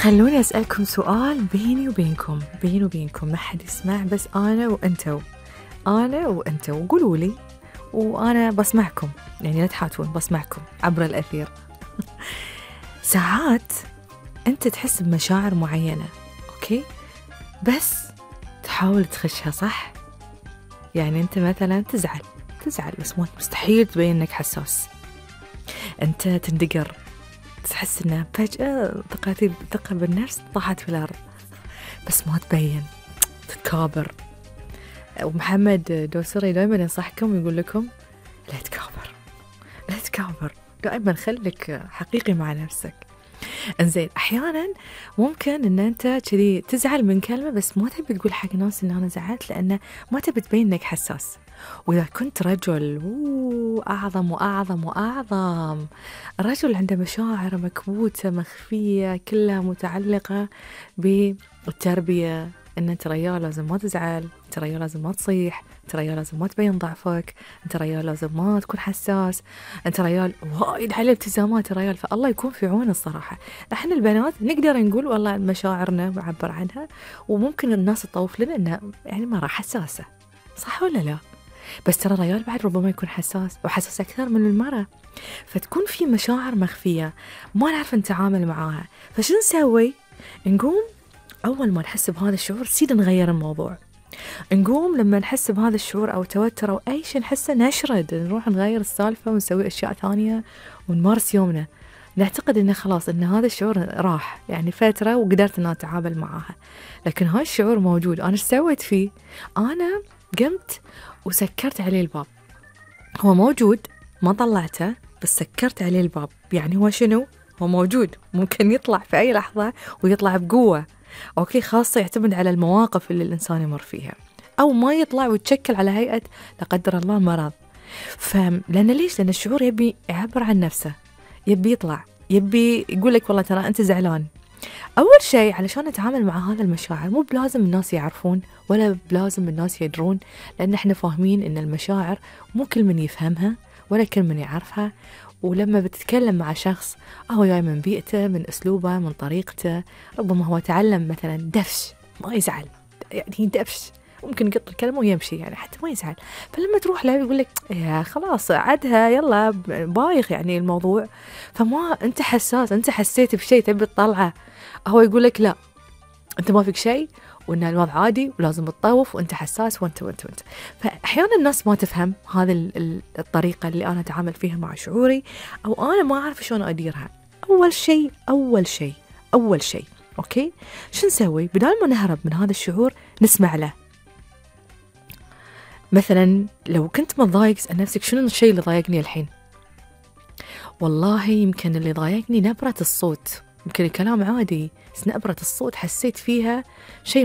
خلوني أسألكم سؤال بيني وبينكم ما حد يسمع، بس أنا وأنتوا قولوا لي وأنا بسمعكم، يعني لا تحاتون، بسمعكم عبر الأثير. ساعات أنت تحس بمشاعر معينة، أوكي، بس تحاول تخشها، صح؟ يعني أنت مثلا تزعل بس مستحيل تبين إنك حساس. أنت تندقر، تحس إنها فجأة ثقة بالنفس طاحت في الأرض، بس ما تبين، تتكابر. ومحمد دوسري دائما ينصحكم يقول لكم لا تكابر، دائما خليك حقيقي مع نفسك. انزين، أحيانا ممكن إن أنت كذي تزعل من كلمة بس ما تبي تقول حق ناس إن أنا زعلت، لأنه ما تبي تبين إنك حساس. وإذا كنت رجل أعظم الرجل عنده مشاعر مكبوتة مخفية كلها متعلقة بالتربية، إن أنت ريال لازم ما تزعل، أنت ريال لازم ما تصيح، أنت ريال لازم ما تبين ضعفك، أنت ريال لازم ما تكون حساس، أنت ريال وايد عليه التزامات ريال. فالله يكون في عون الصراحة. احنا البنات نقدر نقول والله مشاعرنا معبر عنها، وممكن الناس تطوف لنا إنها يعني مرة حساسة، صح ولا لا؟ بس ترى الرجال بعد ربما يكون حساس وحساس أكثر من المرأة، فتكون في مشاعر مخفية ما نعرف نتعامل معاها. فشو نسوي؟ نقوم أول ما نحس بهذا الشعور سيدا نغير الموضوع، نقوم لما نحس بهذا الشعور أو توتر أو أي شيء نحسه نشرد، نروح نغير السالفة ونسوي أشياء ثانية ونمارس يومنا. نعتقد إنه خلاص إن هذا الشعور راح، يعني فترة وقدرت إن أتعامل معاها، لكن هاي الشعور موجود. أنا إيش سويت فيه؟ أنا قمت وسكرت عليه الباب. هو موجود ما طلعته، بس سكرت عليه الباب. يعني هو شنو؟ هو موجود، ممكن يطلع في أي لحظة ويطلع بقوة، أوكي، خاصة يعتمد على المواقف اللي الإنسان يمر فيها، أو ما يطلع ويتشكل على هيئة لا قدر الله مرض. لأن ليش؟ لأن الشعور يبي يعبر عن نفسه، يبي يطلع، يبي يقول لك والله ترى أنت زعلان. أول شيء علشان نتعامل مع هذا المشاعر مو بلازم الناس يعرفون ولا بلازم الناس يدرون، لأن احنا فاهمين إن المشاعر مو كل من يفهمها ولا كل من يعرفها. ولما بتتكلم مع شخص هو جاي من بيئته، من أسلوبه، من طريقته، ربما هو تعلم مثلا دفش ما يزعل، يعني دفش ممكن يقط الكلمة ويمشي، يعني حتى ما يزعل. فلما تروح له يقول لك يا خلاص عدها يلا بايخ يعني الموضوع، فما أنت حساس، أنت حسيت بشيء تبي تطلعه، هو يقول لك لا أنت ما فيك شيء وإن الوضع عادي ولازم تطوف وأنت حساس وأنت. فأحيانا الناس ما تفهم هذه الطريقة اللي أنا أتعامل فيها مع شعوري، أو أنا ما أعرف شلون أديرها. أول شيء أوكي، شو نسوي؟ بدال ما نهرب من هذا الشعور نسمع له. مثلا لو كنت متضايق اسأل نفسك شنو الشيء اللي ضايقني الحين؟ والله يمكن اللي ضايقني نبرة الصوت، يمكن الكلام عادي بس نبرة الصوت حسيت فيها شيء